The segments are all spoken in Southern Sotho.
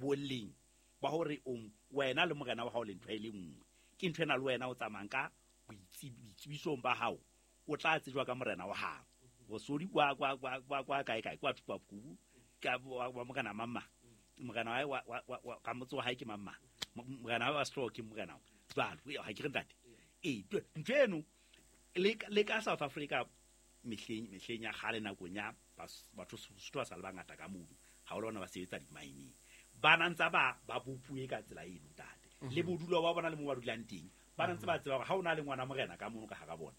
Boleng ba hore o wena le morena wa hao le ntho e le nngwe. Ke ntho ena le wena o tsamayang ka boitsebisong ba hao, o tla tsejwa ka morena wa hao. Bosodi kwa kwa kwa kwa kwa kae kae kwa thupa kubu ka wa morena mamma. Morena wa wa wa ka motse wa hae ke mamma. Morena wa sehlooho ke morena wa. Jwalo, ha ke re ntate. Ee, ntho eno le ka South Africa mehleng ya kgale nakong ya batho Sotho ba sa le bangata ka mono, ha o le bona ba sebetsa di-mining. Ba na ntsa ba bopuwe ka tsela eno ntate. Le bodulo ba bona le mo ba dulang teng, ba na ntse ba tseba hore ha o na le ngwana morena ka mono ka hara bona,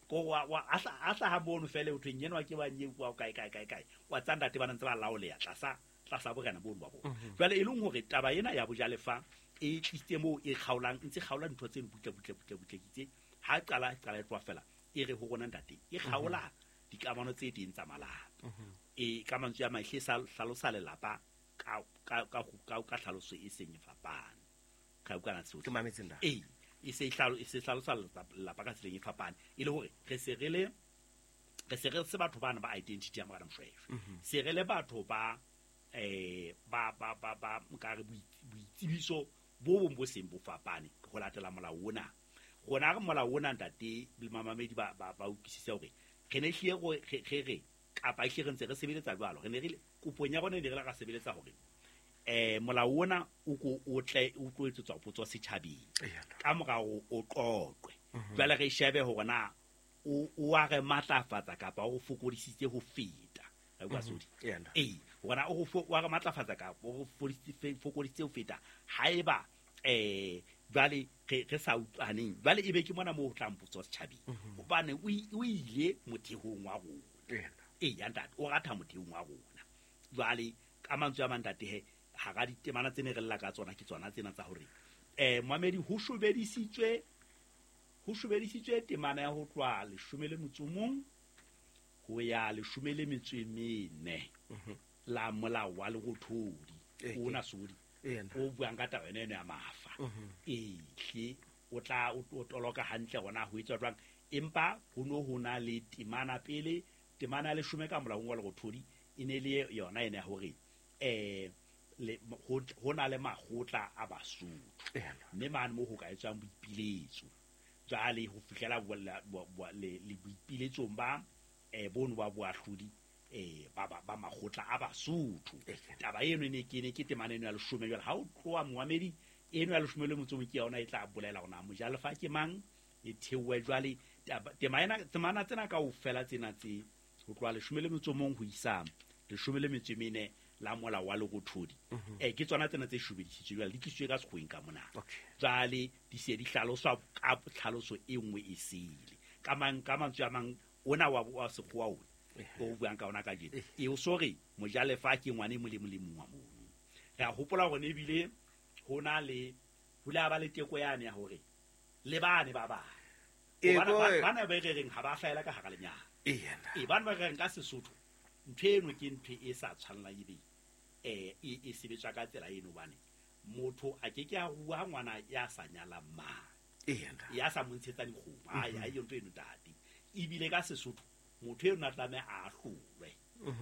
ko wa a hlaha mono fele ho thweng enwa ke wa nyeo wa kae kae kae kae, wa tsa ntate ba na ntse ba laoleha tlasa borena bono ba bona. Jwale e leng hore taba ena ya bojalefa e tlisitse moo e kgaolang, ntse kgaola ntho tseno butle butle butle butle kitse ha qala e tloha fela e re ho rona ntate e kgaola dikamano tse teng tsa malapa. E ka mantswe a mahle sa hlalosa lelapa ka ka ka ka tlhaloso e seng e fapane. Ka utlwana tsohle. Ke mametse nna. Ee, e se hlalosa lelapa ka tseleng e fapane. E le hore re se re le re se re se batho bana ba identity ya Morena Moshweshwe. Se re le batho ba ba ba ba ba nkare boitsebiso bo bong bo seng bo fapane ho latela molao ona. Rona re molao ona ntate le mamamedi ba ba utlwisise hore re ne hlile re re kapa hlile re ntse re sebeletsa jwalo. Re ne re kopong ya rona ne re la ra sebeletsa hore molao ona o ko o tle o tlo etsetswa potso setjhabeng ka morao o qoqwe. Jwale re shebe hore na o a re matlafatsa kapa o fokodisitse ho feta. Re bua sodi. Ee, hore o wa re matlafatsa kapa o fokodisitse ho feta haeba jwale re sa utlwaneng. Jwale ebe ke mona moo ho tlang potso setjhabeng. Hobane o ile mothehong wa rona. Ee, ya ntate, o ratha mothehong wa rona. Jwale ka mantswe a mang ntate he hara ditemana tse ne re lla ka tsona ke tsona tsena tsa hore momamedi ho shobedisitswe temana ya ho tloha 11 ho ya 14 la molao wa Lerothodi ona sodi o buang ka taba ena ya mafa. Ehle o tla o toloka hantle hona ho etswa jwang, empa ho no ho na le temana pele, temana ya 10 ka molaong wa Lerothodi e ne le yona ena ya hore ho na le makgotla a Basotho mme mane moo ho ka etswang boipiletso. Jwale ho fihlela le boipiletsong ba bono ba boahlodi ba makgotla a Basotho. Taba eno ne ke ne ke temana eno ya 10. Jwale ha o tloha momamedi eno ya 11 ke yona e tla bolela hore na mojalefa ke mang, e theohe jwale temana tsena kaofela tsena tse ho tloha 11 ho isa 14 la molao wa Lerothodi. Ke tsona tsena tse shobedisitswe jwale di tlisitswe ka sekgoweng ka mona. Jwale di se di hlaloswa ka tlhaloso e nngwe e sele. Ka mantswe a mang ona wa sekgowa ona o buang ka ona kajeno. E o sore mojalefa ke ngwana e molemo le mong wa mono. Re a hopola hore ebile ho na le ho la ba le teko yane ya hore le bane ba bang. Bana ba re reng ha ba hlahela ka hara lenyalo. E bana ba re reng ka Sesotho ntho eno ke ntho e sa tshwanelang ebe e sebetswa ka tsela eno hobane motho a ke ke a rua ngwana ya sa nyalang mang. Ya sa mo ntshetsa dikgomo. Ai ai ntho eno ntate. Ebile ka Sesotho motho eno a tlameha a ahlolwe.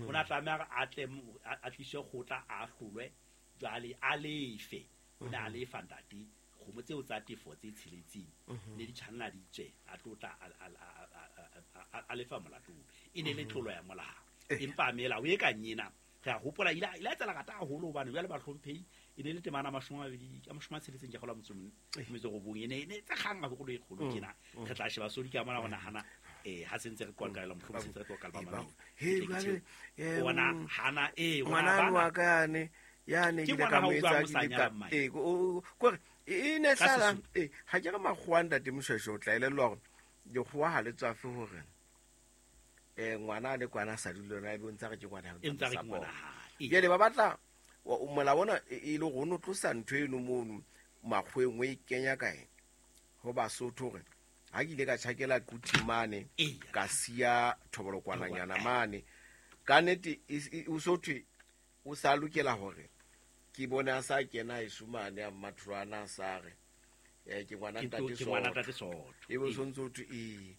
O na tlameha a tle a tliswe kgotla a ahlolwe jwale a lefe. O na lefa ntate kgomo tseo tsa tefo tse tsheletseng ne di tshwanela di tswe a tlotla a lefa molato. E ne le tlolo ya molao. Empa melao e ka nyena re a hopola ile a tsela rata haholo hobane jwale bahlomphehi e ne le temana 26 ke kgola 19 e ne tse kgang haholo e kgolo tjena. Re tla sheba sodi ka mona ho nahana ha se ntse re qoqela mohlomong se ntse re qoqela ba mamedi. He jwale ona hana ngwana wa ka yane yane ke ka mo etsa ke kore e ne hlala ha ke re makgowa ntate Moshweshwe o tla elellwa hore dikgowa ha le tswafe hore ngwana le kwana sa dule lona e bontsa re ke ngwana jwale ba batla molao ona e le hore o no tlosa ntho eno mono makgoweng o e kenya kae ho Basotho hore ha ke ile ka tjhakela Quthing mane ka siya thobolokwananyana mane ka nnete o so thwe o sa lokela hore ke bone a sa kena heso mane a mmatholwana a sa re ke ngwana ntate Soto e be o sontse o thwe ee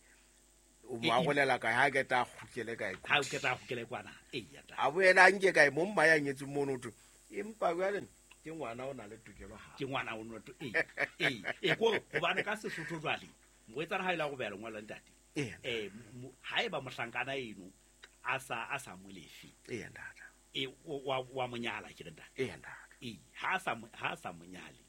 o mo arolela kae ha ke tla kgutlele kae ha ke tla kgutlele kwana a boela a nke kae mo mma ya nyetseng mono thwe empa jwale Ke ngwana o na le tokelo ha. Ke ngwana o no e ko hobane ka Sesotho jwale morwetsana ha ile go beha lengolo ntate. Haeba mohlankana eno a sa molefe. Ntate. Wa monyala ke re ntate. Ntate. Ha sa monyale.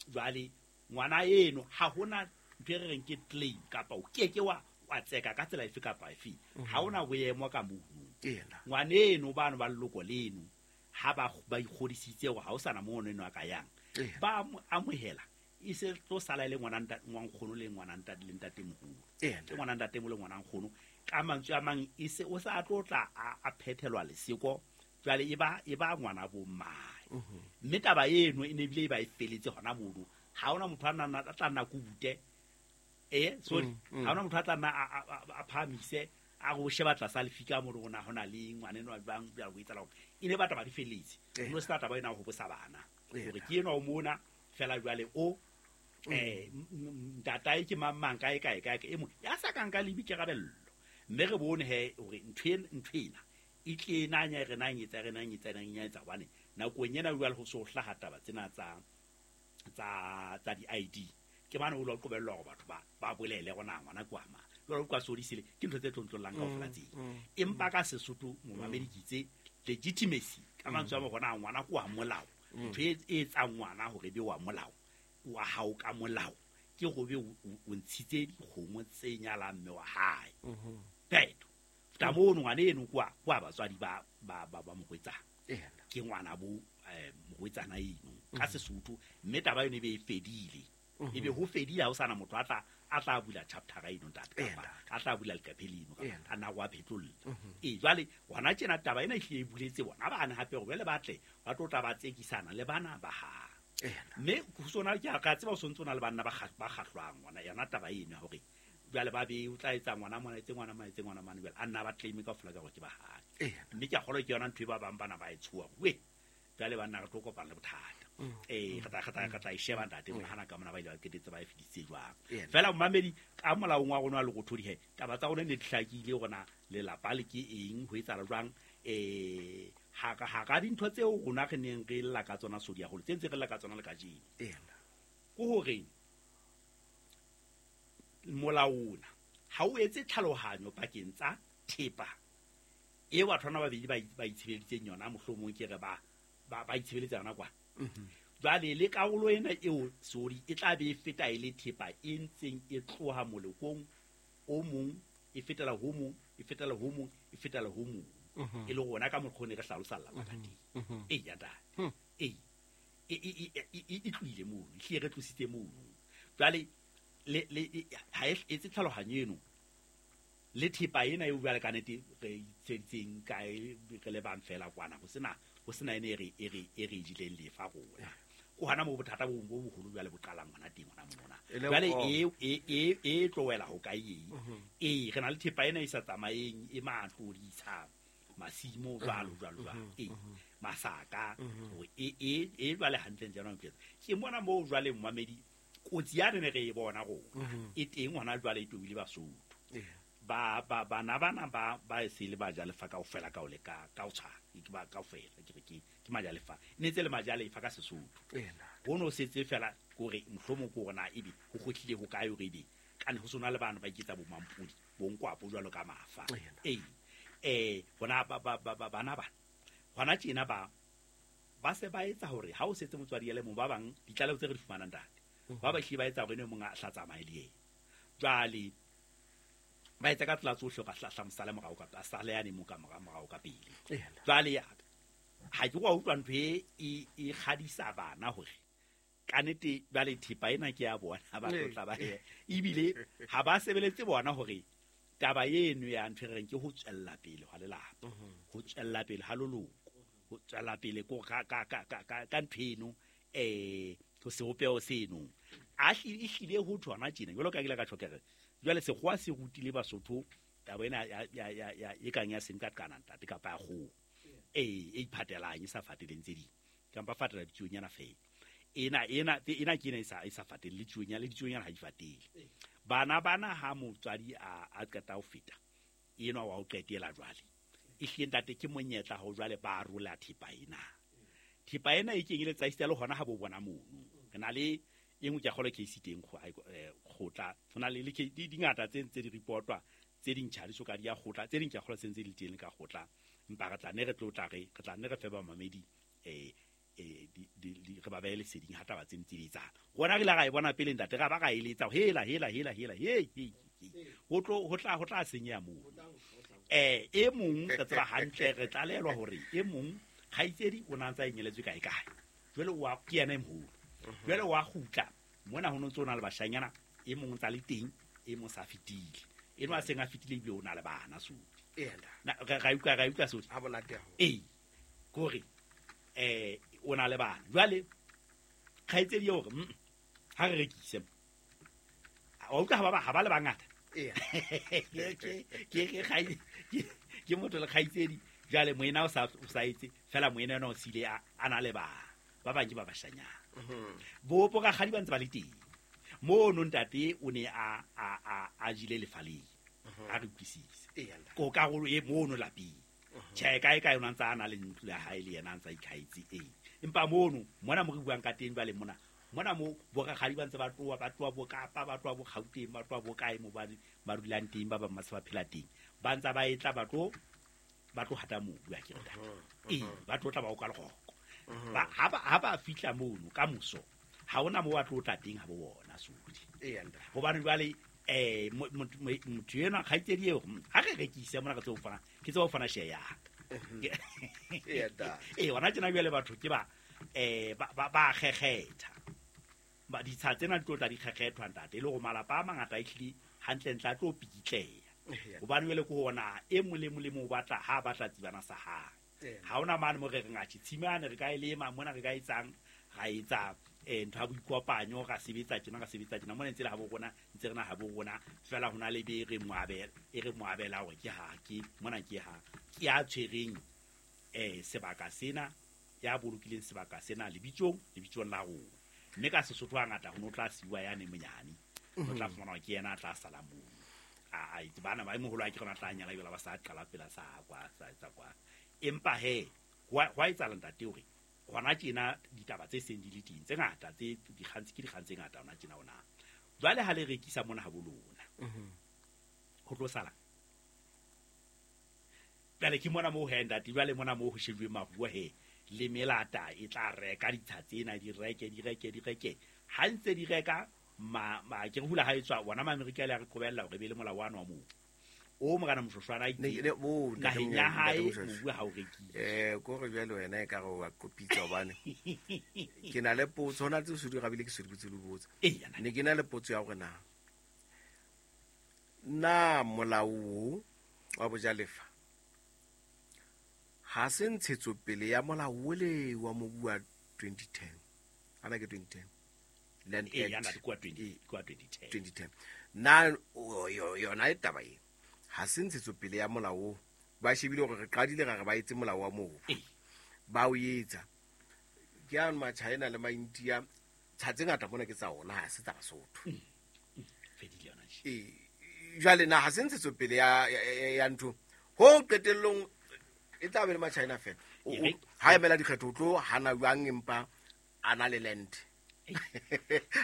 Jwale ngwana eno ha hona ntho e re reng ke claim kapa o ke ke wa tseka ka tsela efe kapa efe. Ha hona boemo ka mono. Ngwana eno bano ba leloko leno ha ba ikgodisitse hore ha o sana mono eno a ka yang. Ba amohela e se tlo sala le ngwana nkgono le ngwana ntate le ntate moholo. Ke ngwana ntate mo le ngwana nkgono ka mantswe a mang e se o sa tlotla a phethelwa leseko jwale e ba ngwana bo mmae. Mme taba eno e ne bile e ba e feletse hona mono. Ha ona motho a tla nna kubute. Sorry. Ha ona motho a tla nna a phamise a go sheba tlasa lefika mo rona hona le ngwana eno ba bang ba go etsala hore e ne batla ba di feletse. No se taba ena ho bosa bana. Hore ke eno o mona fela jwale o ntatae ke mang kae kae kae e mo ya sa kang ka lebi ke rabello. Mme re bone he hore ntho ena e tle nanya re nang etsa re nang etsa nang etsa hobane nakong ena jwale ho so hlaha taba tsena tsa di ID ke bana o lo qobellwa hore batho ba bolele gona ngwana kwa ma jwale kwa sodisile ke ntho tse tlontlollang kaofela tseng. Empa ka Sesotho momamedi ke itse legitimacy ka mantswe a gona ngwana kwa molao ntho e etsang ngwana hore be wa molao wa hao ka molao ke go be o ntshitse dikgomo tse nyalang mme wa hae. Pheto ta mono ngwana eno kwa batswadi ba morwetsana. Ke ngwana bo morwetsana eno ka Sesotho mme taba eno e be e fedile. Ebe ho fedile ha o sana motho a tla bula chapter eno ntate kapa a tla bula leqephe leno kapa a na go a phetlolla. Jwale hona tjena taba ena e hlile e buletse bona bana hape hore jwale ba tle ba tlo tla ba tsekisana le bana ba ha. Mme ho sona ke a tseba o sontse o na le banna ba kgahlwang ngwana yona taba eno hore jwale ba be o tla etsa ngwana mona etse ngwana mona etse ngwana mane jwale a nna ba claim ka fela ka hore ke ba hae. Mme ke a kgolwa ke yona ntho e ba bang bana ba e tshoha. We jwale banna re tlo kopana le bothata. Re tla e sheba ntate hana ka mona ba ile ba qetetse ba e fedisitse jwang. Fela momamedi ka molaong wa rona wa Lerothodi he taba tsa rona ne di hlakile rona lelapa le ke eng ho etsahala jwang. Ha ka dintho tseo rona re neng re lla ka tsona sodi haholo tse ntse re lla ka tsona le kajeno. Ke hore molao ona ha o etse tlhalohanyo pakeng tsa thepa e batho bana ba babedi ba itshebeleditseng yona mohlomong ke re ba itshebeletsa yona kwa. Jwale le karolo ena eo sodi e tla be e feta e le thepa e ntseng e tloha molekong o mong e fetela ho mong e fetela ho mong e fetela ho mong. E le rona ka mokgwa re hlalosa lelapa ka teng. Ya ntate. E tlohile mono, e hlile re tlositse mono. Jwale le ha e etse tlhalohanyo eno le thepa ena eo jwale ka nete re itsheditseng kae re le bang fela kwana ho sena ene e re jileng lefa rona. Ko hana mo bothata bo boholo jwale bo qalang hona teng hona mona. Jwale e tlowela ho kae e re na le thepa ena e sa tsamaeng e matlo ditsha masimo jwalo jwalo jwalo masaka e jwale hantle jana ke mona mo jwale momamedi kotsi ya re ne re e bona rona e teng hona jwale e tobile Basotho. Ba bana bana ba se le bajalefa kaofela ka o le ka o tshwana ke ba kaofela ke re ke majalefa ne tse le majalefa ka Sesotho. Ho no setse fela kore mohlomong ko rona ebe ho kgotlile ho kae hore ebe kana ho sona le bana ba iketsa bo mampudi bo nkwapo jwalo ka mafa. Hona bana bana hona tjena ba se ba etsa hore ha o setse motswadi ya le mong ba bang ditlaleho tse re di fumanang ntate ba ba hlile ba etsa hore ene mong a hla tsamaye le yena. Jwale ba etsa ka tsela tsohle ka hlahla mosale morao ka a sale yane mo ka morao ka pele. Jwale ha ke wa utlwa ntho e kgadisa bana hore ka nete jwale thepa ena ke ya bona ba tlotla ba ebile ha ba sebeletse bona hore taba eno ya ntho e reng ke ho tswella pele hwa lelapa ho tswella pele ha loloko ho tswella pele ko ka ntho eno ho sebopeho seno a hlile ho thona tjena jwalo ka ke ile ka tjho ke re jwale sekgowa se rutile Basotho taba ena ya e kang ya senqaqana ntate kapa ya kgoho e iphatelang e sa fateleng tse ding kampa fatela ditsuonyana fela ena ke ena e sa fatele le tsuonyana le ditsuonyana ha di fatele. Bana ha motswadi a qeta ho feta enwa wa ho qetela jwale e hlile ntate ke monyetla ho jwale ba rola thepa ena. Thepa ena e kenyeletsa esita le hona ha bo bona mono. Re na le e nngwe ke a kgolwa case teng kgotla. Ho na le dingata tse ntse di reportwa, tse ding tjha di soka di ya kgotla, tse ding ke a kgolwa tse ntse di le teng ka kgotla. Empa re tla ne re tlo tla re tla ne re fe bamamedi re ba behe leseding ha taba tse ntse di etsahala. Rona re ile ra e bona pele ntate, ra ba ra eletsa hela hela hela hela he he ho tlo ho tla senyeha moo. E mong re tseba hantle, re tlalelwa hore e mong kgaitsedi o na ntsa enyeletswe kae kae. Jwale wa ke yena e moholo. Jwale wa kgutla mona ho ntse o na le bashanyana, e mong ntsa le teng, e mong sa fetile. Eno a seng a fetile ebile o na le bana so. Ra utlwa so. Ha bonate haholo. Ee. Kore o na le bana. Jwale kgaitsedi eo hore ha re rekise. Wa utlwa ha ba le bangata. Ke motho le kgaitsedi. Jwale moena o sa etse fela, moena ena o sile a na le bana. Ba bang ke ba bashanyana. Bo rakgadi ba ntse ba le teng. Mono ntate o ne a jile lefaleng. A re utlwisise. Ko karolo e mono lapeng. Tjhe, kae kae o ntse a na le ntlo ya hae le yena a ntse a ikhaetse. Empa mono mona mo re buang ka teng jwale mona mona mo bo rakgadi ba ntse ba tloha bo Kapa, ba tloha bo Gauteng, ba tloha bo kae mo ba dulang teng, ba bang ba se ba phela teng. Ba ntse ba etla ba tlo hata mobu a ke re ntate. Ba tlo tla ba o ka leroko. Ha ba fihla mono ka moso, ha hona mo ba tlo tla teng ha bo bona sodi. Hobane jwale motho enwa kgaitsedi eo ha re rekise mona re tseo fana, ke tseo fana share ya ka. Hona tjena jwale batho ke ba ba kgekgetha. Ba ditsha tsena di tlo tla di kgekgethwa ntate, e le hore malapa a mangata a ehlile hantlentle a tlo pikitleha. Hobane jwale ke hona e mong le mong le mong o batla ha batla tsibana sa hae. Ha hona mane mo re reng atjhe tshimane re ka e lema mona re ka etsang, ra etsa ntho ya boikopanyo, ra sebetsa tjena mona ntse le ha bo rona, ntse re na ha bo rona fela hona le be re moabela, e re moabela hore ke ha ke mona ke ha ke ya tshwereng sebaka sena, ya bolokileng sebaka sena lebitsong la rona. Mme ka Sesotho hangata ho no tla siwa ya ne monyane, o tla fumana ke yena a tla sala moo. A itse bana ba moholo a ke rona tla nyala jwale ba sa qala pela sa kwa sa etsa kwa. Empa he hwa etsahala ntate hore hona tjena ditaba tse seng di le teng tse ngata tse dikgang ke dikgang tse ngata hona tjena hona. Jwale ha le rekisa mona ha bo lona, ho tlo sala. Jwale ke mona moo he ntate, jwale mona moo ho shejuwe maruo he le melata e tla reka ditsha tsena, di reke. Ha ntse di reka ma ke re hula ha etswa bona ma-Amerika le a re qobella hore e be le molao wa moo. O morana Moshoshwana itse naheng ya hae mobu ha o rekile. Ko re jwale wena e ka re wa kopitsa hobane ke na le potso hona tse se di rabile ke se di botse le botsa. Ne ke na le potso ya hore na molao wa bojalefa ha se ntshetsopele ya molao ole wa mobu wa 2010. Ana ke 2010. Land Act kwa 2010. 2010. Na yona e taba e ha se ntshetsopele ya molao ba shebile hore re qadile ra re ba etse molao wa mobu. Ba o etsa. Ke a ma-China le ma-India tsha tse ngata mona ke tsa ona, ha se tsa Basotho. Fedile yona tje. Jwale na ha se ntshetsopele ya ntho ho qetellong e tla be le ma-China fela. Ha emela dikgetho o tlo hana jwang empa a na le land.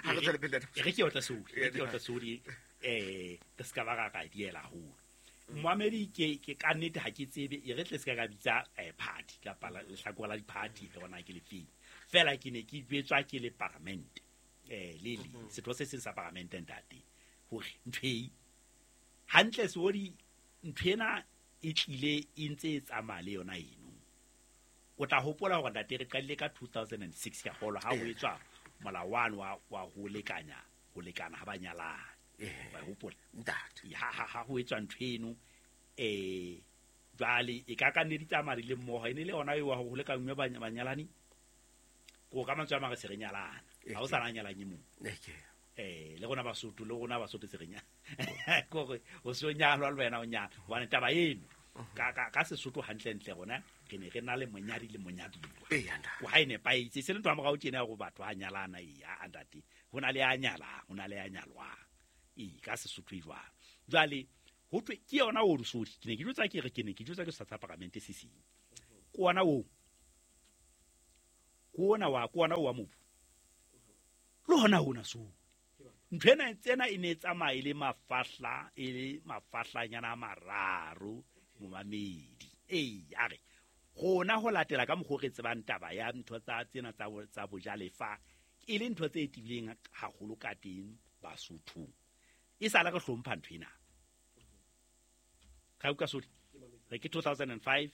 Ha re tswele pele. E re ke otla sodi, re ska ba ra ka diela haholo. Moamedi ke ka nnete ha ke tsebe, e re tle se ka bitsa party kapa lehlakore la di-party le bona ke lefeng. Fela ke ne ke jwetswa ke le parliament le setho se seng sa parliament ntate hore ntho e hantle seodi ntho ena e tlile e ntse e tsamaya le yona eno. O tla hopola hore ntate re qadile ka 2006 ka kgolwa ha ho etswa molao wa ho lekana ha ba nyalana. Wa hopola ntate ha ho etswa ntho eno jwale e ka nne di tsamaya le mmoho, e ne le yona eo wa ho lekanywe banyalani ko ka mantswe a mang re se re nyalana, ha o sa na nyalanye mong. Le rona Basotho se re nyala kore o se o nyalwa le wena o nyala hobane taba eno ka Sesotho hantlentle rona re ne re na le monyadi le monyaduwa. Ko ha e nepahetse se le ntho ya morao tjena hore batho ba nyalana a ntate ho na le a nyalang ho na le a nyalwang. Ka Sesotho e jwalo. Jwale ho thwe ke yona o sodi ke ne ke jwetsa ke re ke ne ke jwetsa ke sa tsa paramente se seng. Ke ona o Ke ona wa ke ona wa mobu le hona hona. So ntho ena tsena e ne e tsamaya e le mafahla, e le mafahlanyana a mararo, momamedi. Ee, a re rona ho latela ka mokgwa o re tsebang taba ya ntho tsa tsena tsa bojalefa e le ntho tse tibileng haholo ka teng Basothong, e sala re hlompha ntho ena. Ga utlwa sodi re ke 2005,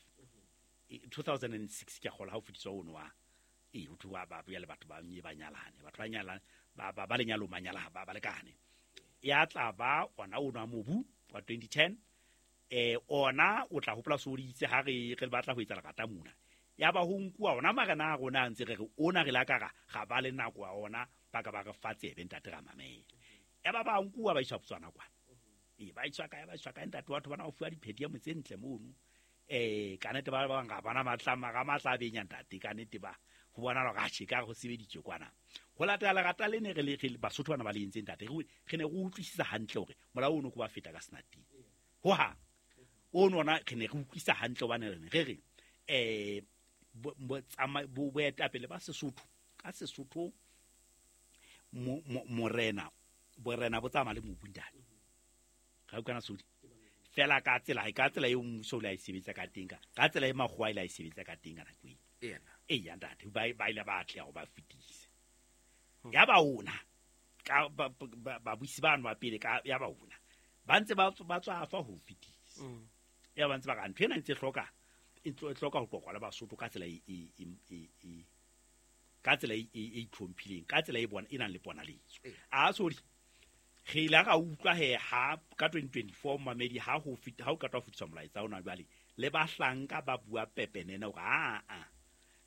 2006 ke a kgola ha o fetiswa ono wa ee, ho thwe ba bua le batho ba nye ba nyalane, batho ba nyalane ba lenyalong, ba nyala ba lekane. Ya tla ba ona ono wa mobu wa 2010. Ona o tla hopola soditse ha re batla ho etsa lerata mona, ya ba ho nkuwa ona marena a rona a ntse re re ona re la ka ra ba le nako ya ona, ba ka ba re fa tsebe, ntate, ra mamela. Ya ba ba nkuwa ba iswa Botswana kwana, ee, ba iswa kae, ba iswa kae, ntate. Batho bana ba fuwa diphedi ya motse ntle mono. Ka nnete ba bang ga bana matla ga matla a benya, ntate. Ka nnete ba ho bona hore atjhe ka ho sebeditswe kwana ho latela lerata le ne re le Basotho bana ba le entseng, ntate. Re ne re utlwisisa hantle hore molao ono ko ba feta ka senateng hohang ono ona. Re ne re utlwisa hantle hobane re ne re re boetapele ba Sesotho ka Sesotho morena, borena bo tsamaya le mobu, ntate. Ga utlwana sodi fela ka tsela eo mmuso o ile a e sebetsa ka teng, ka tsela e makgowa ile a e sebetsa ka teng ka nako eo. Eya ntate, ba ile ba atleha ho ba fetise ya ba ona ka babusi bano ba pele ka ya ba ona ba ntse ba tswafa ho fetisa. Ya ba ntse ba ka ntho ena ntse hloka e hloka ho qoqwa le Basotho ka tsela e ka tsela e itlhomphileng, ka tsela e bona e nang le ponaletso. A sorry, re ile ra utlwa he ha ka 2024, mamedi, ha ho fita ha o qeta ho fetiswa molaetsa ona, jwale le bahlanka ba bua pepenene hore aa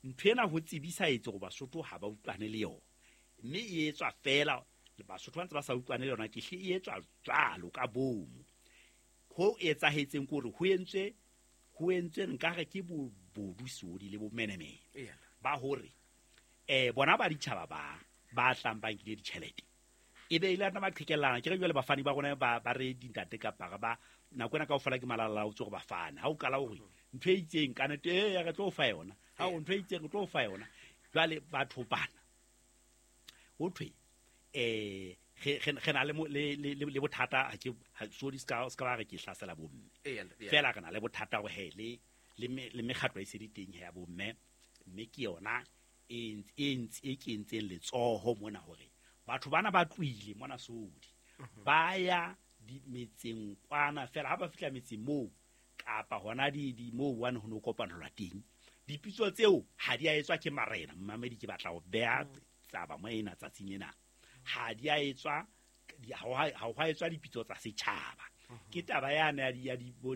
ntho ena ho tsebisa etse hore Basotho ha ba utlwane le yona, mme e etswa fela Basotho ba ntse ba sa utlwane le yona. Ke hle e etswa jwalo ka bomo. Ho etsahetseng ke hore ho entswe nkare ke bobodu sodi le bomenemene ba hore bona ba ditjhaba ba tlang ba nkile ditjhelete, e be ile nna ba qhekellana. Ke re jwale bafani ba rona ba re dintate kapa ba nako ena kaofela ke malala o tse gore bafane ha o qala hore ntho e itseng ka nete e re tlo fa yona, ha o ntho e itseng re tlo fa yona. Jwale batho bana ho thwe re na le bothata. Ha ke so di ska ba re ke hlasela bomme fela, re na le bothata hore he le mekgatlo e se di teng ya bomme, mme ke yona e kentseng letsoho mona hore batho bana ba tlohile mona sodi ba ya metseng kwana fela. Ha ba fihla metseng moo kapa hona di moo one ho no kopanelwa teng, dipitso tseo ha di a etswa ke marena. Mmamedi, ke batla ho beha taba mo ena tsatsing ena, ha di a etswa ha ho etswa dipitso tsa setjhaba. Ke taba yane ya di bo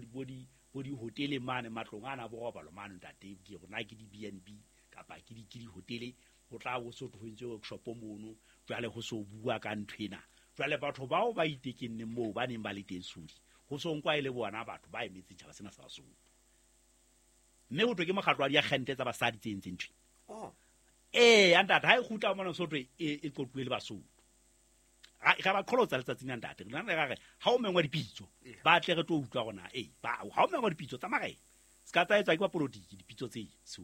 dihotele mane, matlong ana borobalo mane, ntate. Ke rona ke di B&B kapa ke dihotele, ho tla bo so ho entswe workshop mono. Jwale ho so bua ka ntho ena, jwale batho bao ba itekenneng moo ba neng ba le teng sodi, ho so nkwa e le bona batho ba emetseng tjhaba sena sa Basotho, mme ho thwe ke mokgatlo wa diakgente tsa basadi tse entseng ntho. Ee, ntate, ha e kgutla mona Sotho e qoquwe le Basotho, ra ba qholotsa letsatsing la, ntate. Rena re ra re ha o mengwa dipitso, ba tle re tlo utlwa rona. Ee, ha o mengwa dipitso tsa marena, se ka tsa etswa ke bapolotiki. Dipitso tse so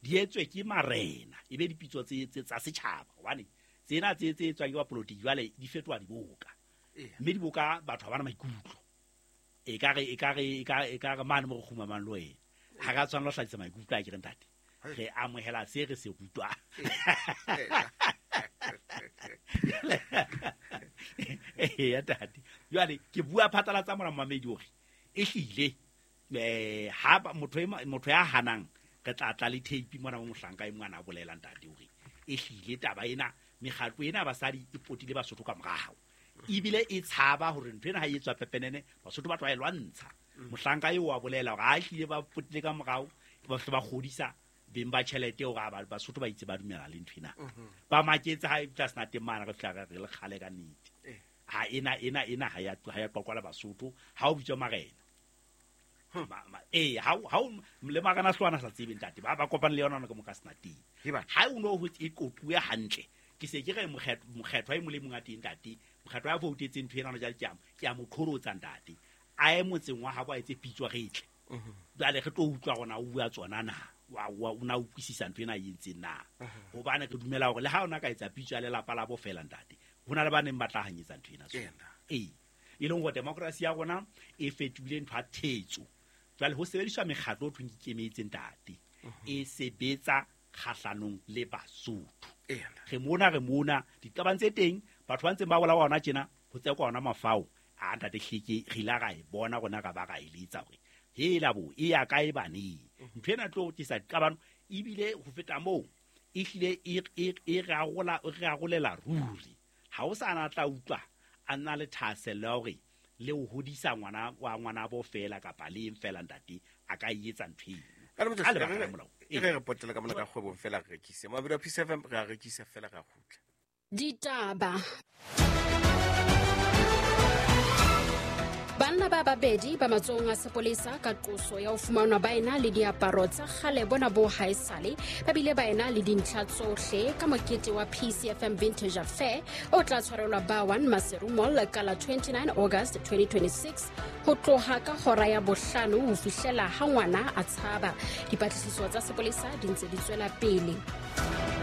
di etswe ke marena, e be dipitso tse tsa setjhaba, hobane tsena tse etswang ke bapolotiki jwale di fetoha diboka, mme diboka batho ha bana maikutlo. E ka re mane mo re kgumamang le wena ha ra tshwanela ho hlahisa maikutlo a ke re, ntate, re amohela se re se rutwang. Eya ntate, jwale ke bua phatlalatsa mona, momamedi, hore ehlile ha motho ya hanang, re tla tla le tape mona mo mohlanka e mongwana a bolela, ntate, hore ehlile taba ena, mekgatlo ena ya basadi e potile Basotho ka morao, ebile e tshaba hore ntho ena ha e etswa pepenene Basotho ba tlo e lwantsha. Mohlanka eo wa bolela hore ha ehlile ba potile ka morao, ba hle ba kgodisa beng ba tjhelete hore Basotho ba itse ba dumela le ntho ena. Ba maketse ha e tla sena teng mane, re fihla re le kgale ka nnete. Ha ena ha ya qoqwa le Basotho ha o bitswa marena. Ee, ha o le marena hlwana sa tsebe, ntate, ba kopane le yona ka moka sena teng. Ha o no ho e qoquwe hantle, ke se ke re mokgethwa e mong le mong a teng, ntate, mokgethwa ya voutetseng ntho ena jwale, ke a mo qholotsa, ntate, a ye motseng wa habo, a etse pitso, re tle jwale re tlo utlwa rona o bua tsona na. Wa o na utlwisisa ntho ena e entseng na? Hobane re dumela hore le ha ona ka etsa pitso ya lelapa la bo fela, ntate, ho na le ba neng ba tla hanyetsa ntho ena. Ee, e leng hore demokrasi ya rona e fetohile ntho ya thetso. Jwale ho sebediswa mekgatlo o thweng ke ikemetse, ntate, e sebetsa kgahlanong le Basotho. Re mona diqabang tse teng, batho ba ntseng ba bolawa hona tjena, ho tsekwa ona mafao a ntate Hleke. Re ile ra e bona rona, ra ba ra eletsa hore hela bo e ya kae baneng ntho ena tlo tlisa diqabano. Ebile ho feta moo, ehlile e rarolela ruri. Ha o sa na tla utlwa a nna le thahasello ya hore le ho hodisa ngwana wa ngwanabo fela kapa le eng fela, ntate, a ka e etsa ntho eno ka lebaka la molao. E re potela ka mona ka kgwebong fela, re rekise mabedi a Peace FM, re a rekisa fela, re a kgutla. Ditaba. Banna ba babedi ba matsohong a sepolesa ka qoso ya ho fumanwa ba ena le diaparo tsa kgale bona bo haesale, ba bile ba ena le dintlha tsohle ka mokete wa PCFM Vintage Affair o tla tshwarelwa ba 1 Maseru Mall ka la 29 August 2026 ho tloha ka hora ya 5 ho fihlela ha ngwana a tshaba. Dipatlisiso tsa sepolesa di ntse di tswela pele.